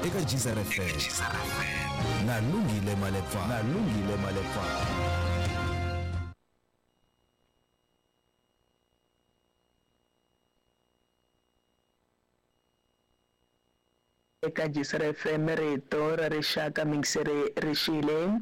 Eka Geyser FM na Lungile Malepa. Na Lungile Malepa. Eka Geyser FM rito ra rixaka mingiseri rixile.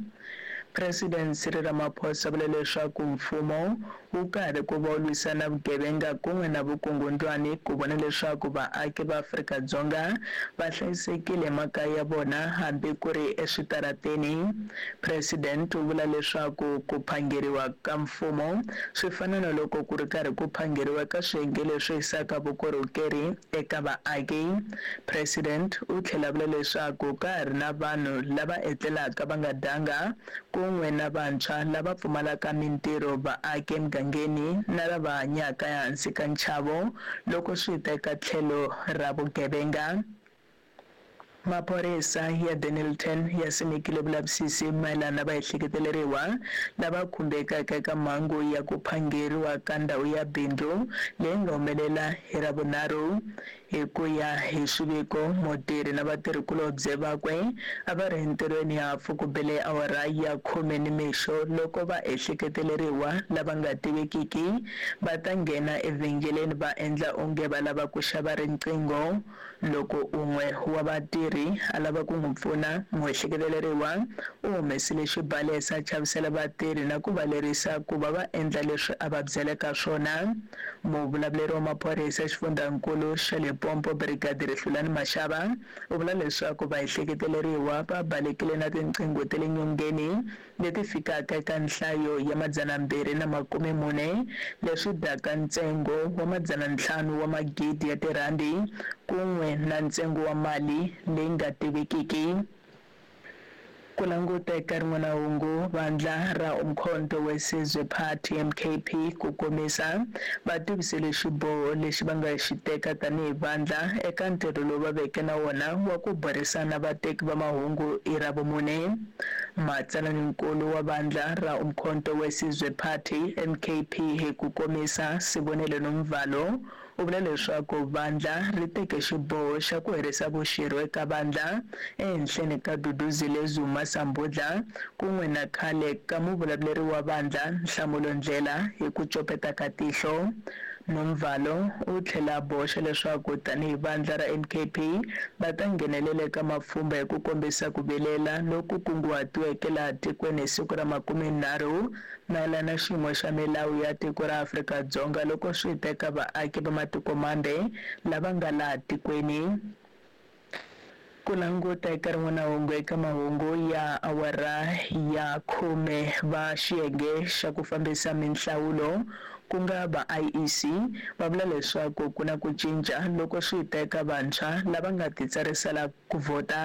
President Cyril Ramaphosa vule leswaku mfumo wu karhi ku va wu lwisana vugevenga kun'we na vukungundwani ku vona leswaku vaaki va Afrika-Dzonga va hlayisekile emakaya ya vona hambi ku ri eswitarateni. President u vula leswaku ku phangeriwa ka mfumo swi fana na loko ku ri karhi ku phangeriwa eka swiyenge leswi yisaka vukorhokeri eka vaaki. President u tlhela vula leswaku ka ha ri na vanhu lava etlelaka va nga dyanga kun'we na vantshwa lava pfumalaka mintirho vaaki emugangeni na lava hanyaka ehansi ka nchavo loko swi ta eka tlhelo ra vugevenga. Maphorisa ya Dennilton ya simekile vulavisisi mayelana na vaehleketeleriwa lava khumbekaka eka mhangu ya ku phangeriwa ka ndhawu ya bindzu leyi nga humelela hi Ravunharhu. Hi ku ya hi swiviko, mutirhi na vatirhikulobye vakwe a va ri entirhweni hafu ku bele awara ya khume nimixo loko vaehleketeleriwa lava nga tivekiki va ta nghena evhengeleni va endla onge va lava ku xava riqingho. Loko un'we wa vatirhi a lava ku n'wi pfuna, muehleketeleriwa u humesile xibalesa a chavisela vatirhi na ku va lerisa ku va va endla leswi a va byeleka swona. Muvulavuleri wa maphorisa exifundzhankulu xa Limpopo, Brigadier Hlulani Mashaba, u vula leswaku vaehleketeleriwa va balekile na tinqingho ta le nyongeni leti fikaka eka nhlayo ya 240, leswi dyaka ntsengo wa 500 wa magidi ya tirhandi kun'we na ntsengo wa mali leyi nga tivekiki. Ku languta eka rin'wana hungu, vandla ra Umkhonto we Sizwe Party, MKP, ku komisa, va tivisile xiboho lexi va nga xi teka tanihi vandla eka ntirho lowu va veke na wona wa ku burisana vateki va mahungu hi Ravumune. Matsalaninkulu wa vandla ra Umkhonto we Sizwe Party, MKP, hi ku komisa, Sibonelo Nomvalo, u vula leswaku vandla ri teke xiboho xa ku herisa vuxirho eka vandla ehenhleni ka Duduzile Zuma Sambudla kun'we na khale ka muvulavuleri wa vandla Nhlamulo Ndlela hi ku copeta ka tihlo. Nomvalo u tlhela a boxa leswaku tanihi vandla ra MKP va ta nghenelela eka mapfhumba hi ku kombisa ku vilela loku kunguhatiweke laha tikweni hi siku ra 30 mayelana na xiyimo xa milawu ya tiko ra Afrika-Dzonga loko swi ta eka vaaki va matiko mambe lava nga laha tikweni. Ku languta eka rin'wana hungu eka mahungu ya awara ya 10, va xiyenge xa ku fambisa minhlawulo ku nga va IEC va vula leswaku ku na ku cinca loko swi ta eka vantshwa lava nga titsarisela ku vhota.